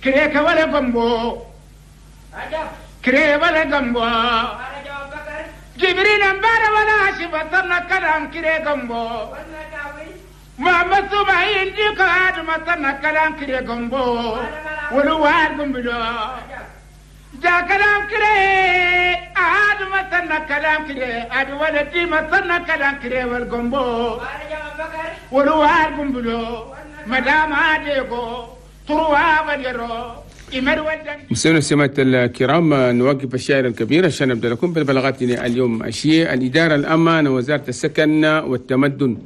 كريك ولا قنبو كري ولا قنبو جبريل امبار ولا شبطنا كلام كري قنبو محمد سبعين ديك آدم كلام كري قنبو ولوار قنبلو جا كلام كري آدم كلام كري آدم ولدي مثلنا كلام كري والقنبو ولوار قنبلو مدام عاديكو تروا وديرو مستمعينا السماعة الكرام، نوقف الشاعر الكبير عشان نبدأ لكم بالبلاغات اليوم. الشيء الإدارة الأمانة وزارة السكن والتمدن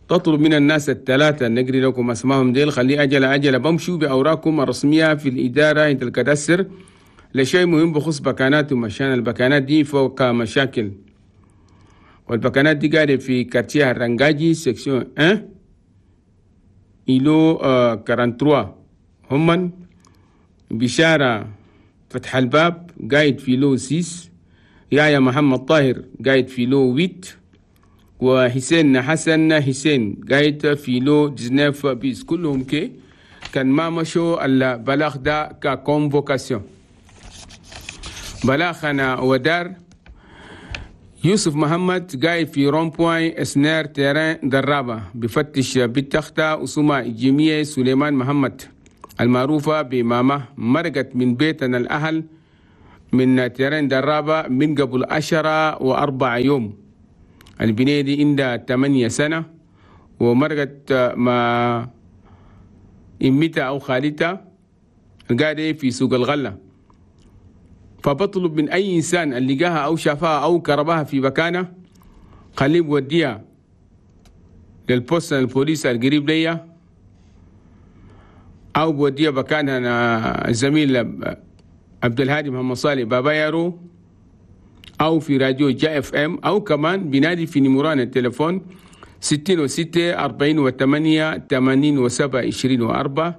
تطلب من الناس الثلاثة، نقري لكم أسمائهم ديل، خلي أجل أجل بمشوا بأوراقكم الرسمية في الإدارة عند الكدسر لشيء مهم بخصوص بكاناتهم، عشان البكانات دي فوق مشاكل، والبكانات دي قاعدة في quartier الرنجاجي section 1 îlot 43. همن بشارة فتح الباب قايد في lot 6، يا محمد طاهر قايد في lot 8، وحسين حسن حسين قايد في lot 19 bis. كلهم كي كان ما مشوا البلاغ ده ك convocation. بلاغنا ودار يوسف محمد قايد في rond-point اسنير terrain درابة بفتش بالتختة أسمة جميع سليمان محمد المعروفة بماما، مرقت من بيتنا الأهل من terrain درابة من قبل 10 و4 يوم. البنية دي عندها 8 سنة ومرقت مع إمتها أو خالتها قاعدة في سوق الغلة. فبطلب من أي إنسان اللي لقاها أو شافها أو كربها في مكانه خليه بوديها لل poste البوليس القريب ليا، أو بوديها مكانها الزميل عبد الهادي محمد صالح بابا يارو، أو في راديو جا FM، أو كمان بنادي في numéro هنا التليفون 66 48 87 24.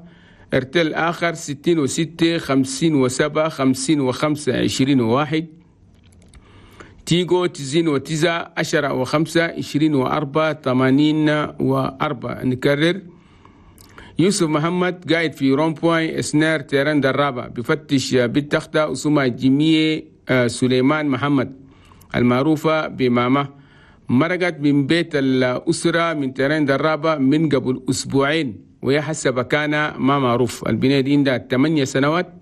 ارتل آخر 66 57 55 21. تيجو 99 10 و5 24 84. نكرر، يوسف محمد قاعد في rond-point اسنار terrain درابة بفتش بالتختة أسمة جميع سليمان محمد المعروفة بماما، مرقت من بيت الأسرة من terrain درابة من قبل أسبوعين، وهي حسب كان ما معروف. البنية دي عندها 8 سنوات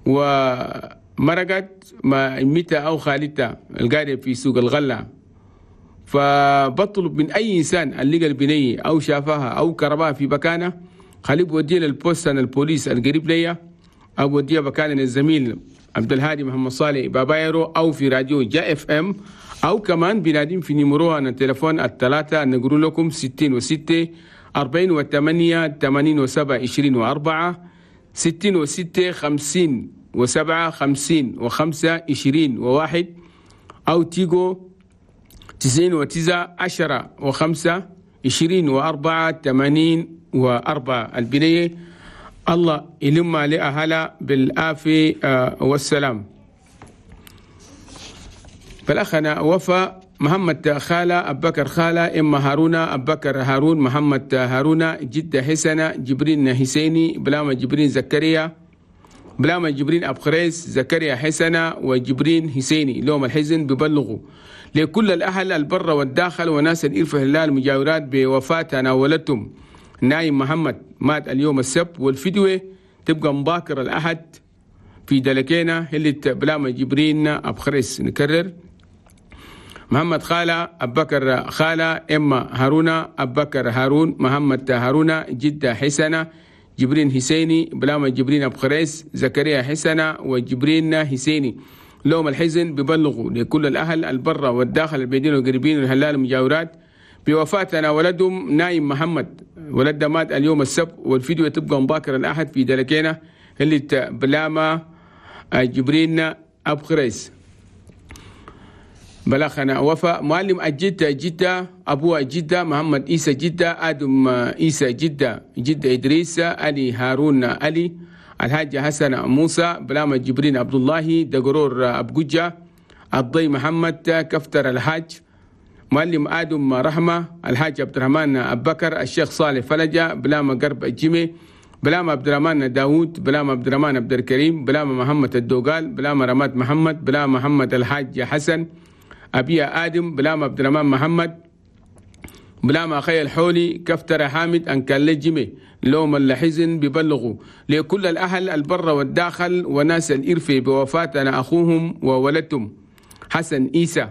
ومرقت مع إمتها أو خالتها القاعدة في سوق الغلة. فبطلب من أي إنسان اللي لقى البنية أو شافها أو كربها في مكانه خليه بوديه لل poste البوليس القريب ليا، أو بوديه مكان الزميل عبد الهادي محمد صالح بابايرو، أو في راديو جا FM، أو كمان بنادين في numéro هنا التليفون الثلاثة نقول لكم 66 48 87 24، 66 57 55 21، أو تيجو 99 10 و5 24 84. البنية الله يلم لأهلها بالعافية والسلام. فالأخنا وفاء محمد خالة أبكر خالة إما هارون أبكر هارون محمد هارون جدة حسنة جبرين حسيني بلاما جبرين زكريا بلاما جبرين أبخريس زكريا حسنة وجبرين حسيني. لهم الحزن ببلغوا لكل الأهل البر والداخل وناس الإرفه الله المجاورات بوفاة تناولتهم نايم محمد مات اليوم السبت، والفدوة تبقى مباكر الأحد في دلكينا اللي بلاما جبرين أبخريس. نكرر، محمد خالة أبكر خالة إما هارون أبكر هارون محمد هارون جدة حسنة جبرين حسيني بلاما جبرين أبخريس زكريا حسنة وجبرين حسيني. لهم الحزن ببلغوا لكل الأهل البرة والداخل البيدين والقريبين والهلال المجاورات بوفاتنا ولدهم نايم محمد ولد مات اليوم السبت، والفيديو تبقى مباكر الأحد في دلكينا اللي بلاما جبرين أبخريس. بلغنا وفاء معلم الجدة جدة أبوه جدة محمد إيسى جدة آدم إيسى جدة جدة إدريس علي هارون علي الحاج حسن موسى بلاما جبرين عبد الله دقرور أبجوجة الضي محمد كفتر الحاج معلم آدم رحمة الحاج عبد الرحمن أبكر الشيخ صالح فلجة بلاما قرب الجمي بلام عبد الرحمن داوود، بلام عبد الرحمن عبد الكريم، بلام محمد الدوغال، بلام رماد محمد، بلام محمد الحاج حسن، أبي آدم، بلام عبد الرحمن محمد، بلام أخي الحولي، كفتر حامد، أنكال جيمي لوم الحزن ببلغوا لكل الأهل البر والداخل وناس الإرفي بوفاتنا أخوهم وولدتهم حسن إيسى،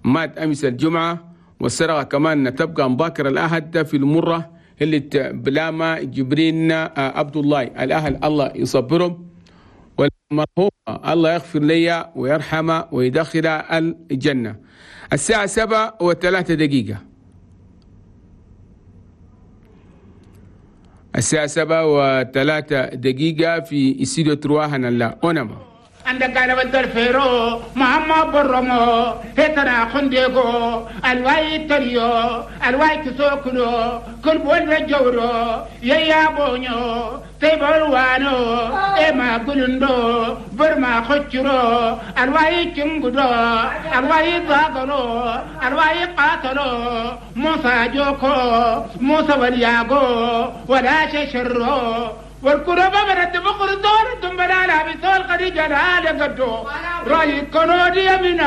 مات أمس الجمعة. والسرقة كمان تبقى مباكر الأحد في المرة اللي بلاما جبرين عبد الله. الأهل الله يصبرهم، والمرحوم الله يغفر لي ويرحمه ويدخل الجنة. الساعة 7:03. الساعة 7:03 في استوديو ترواهنا لا أونما. عندك قال بدر فيرو مهما برمو هتنا خندقو الواي تريو الواي تسوكلو كل بول جورو يا بونيو تيبلوانو اما قلندو برما خچرو الواي تشنغدو الواي ضاغلو الواي قاتلو موسى جوكو موسى ولياغو ولا ششرو والكربة برد بقر دور دم بلا بسول قد جلال قدو رأي كنودي من.